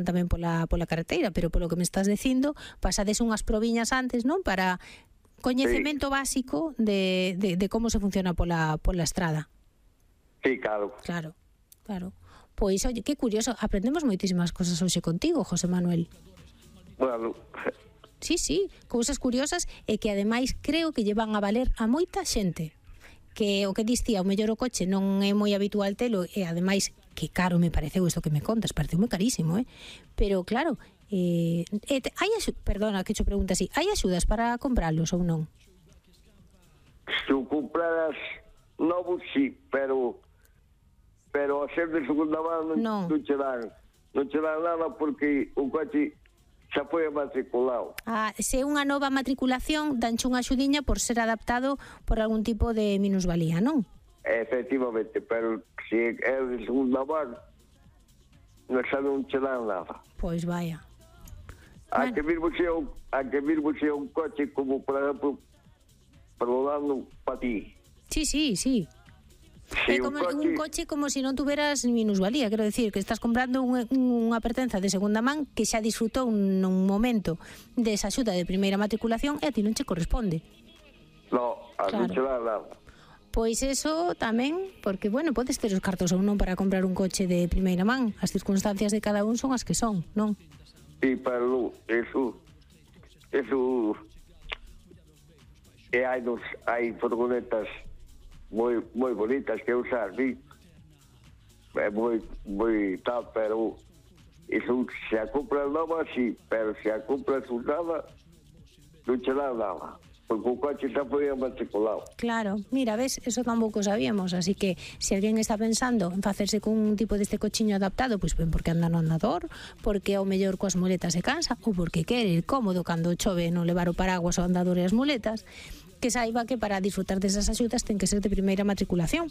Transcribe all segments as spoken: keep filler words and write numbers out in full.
tamén pola, pola carreteira, pero polo que me estás dicindo, pasades unhas proviñas antes, non? Para coñecemento sí. básico de, de, de como se funciona pola, pola estrada. Sí, claro. Claro, claro. Pois, oye, que curioso, aprendemos moitísimas cosas hoxe contigo, José Manuel. Bueno... Sí, sí, cousas curiosas e que ademais creo que lle van a valer a moita xente. Que o que distía, o mellor o coche non é moi habitual telo e ademais que caro me pareceu isto que me contas, pareceu moi carísimo, eh? Pero claro, eh, eh, hai axudas, perdona que cho pregunta así, hai axudas para compralos ou non? Se o compraras novos, sí, pero pero a ser de segunda mano non, non che dan non che dan nada porque o coche xa foi matriculado. Ah, se é unha nova matriculación, danche unha axudiña por ser adaptado por algún tipo de minusvalía, non? Efectivamente, pero se é de segunda mano, non xa non che dan nada. Pois vaya. A Bueno. que virmo xe un, a que virmo xe un coche como, por exemplo, perdonando para ti. Sí, sí, sí. É Si como un coche, un coche como se si non tuveras minusvalía, quero decir, que estás comprando un, unha pertenza de segunda man que xa disfrutou nun momento desa axuda de primeira matriculación e a ti non che corresponde. no, a Claro. non che dan nada. Pois eso tamén, porque, bueno, podes ter os cartos ou non para comprar un coche de primeira man. As circunstancias de cada un son as que son, non? Sí, pero eso, eso, e hai, dos, hai furgonetas moi moi bonitas que usar, sí. É moi, moi tal, pero eso, se a compras nova, sí, pero se a compras usada, non che dá nada, porque o coche xa foi matriculado. Claro, mira, ves, eso tampouco sabíamos, así que se alguén está pensando en facerse con un tipo deste cochiño adaptado, pois ben porque anda no andador, porque ao mellor coas muletas se cansa, ou porque quere ir cómodo cando chove non levar o paraguas ao andador e as muletas, que saiba que para disfrutar desas axudas ten que ser de primeira matriculación.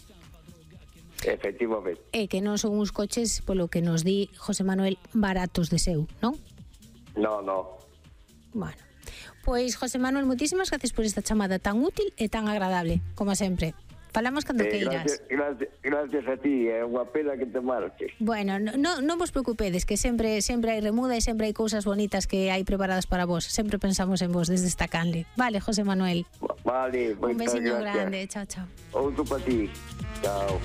Efectivamente. E que non son uns coches, polo que nos di José Manuel, baratos de seu, non? No, no. Bueno, pois José Manuel, moitísimas gracias por esta chamada tan útil e tan agradable, como sempre. Falamos cando Eh, queiras. gracias, gracias, gracias a ti, é unha pena que te marches. Bueno, non no vos preocupedes, que sempre sempre hai remuda e sempre hai cousas bonitas que hai preparadas para vos. Sempre pensamos en vos desde esta canle. Vale, José Manuel. Vale, Un moitas besiño gracias. grande. Chao, chao. Outro para ti. Chao.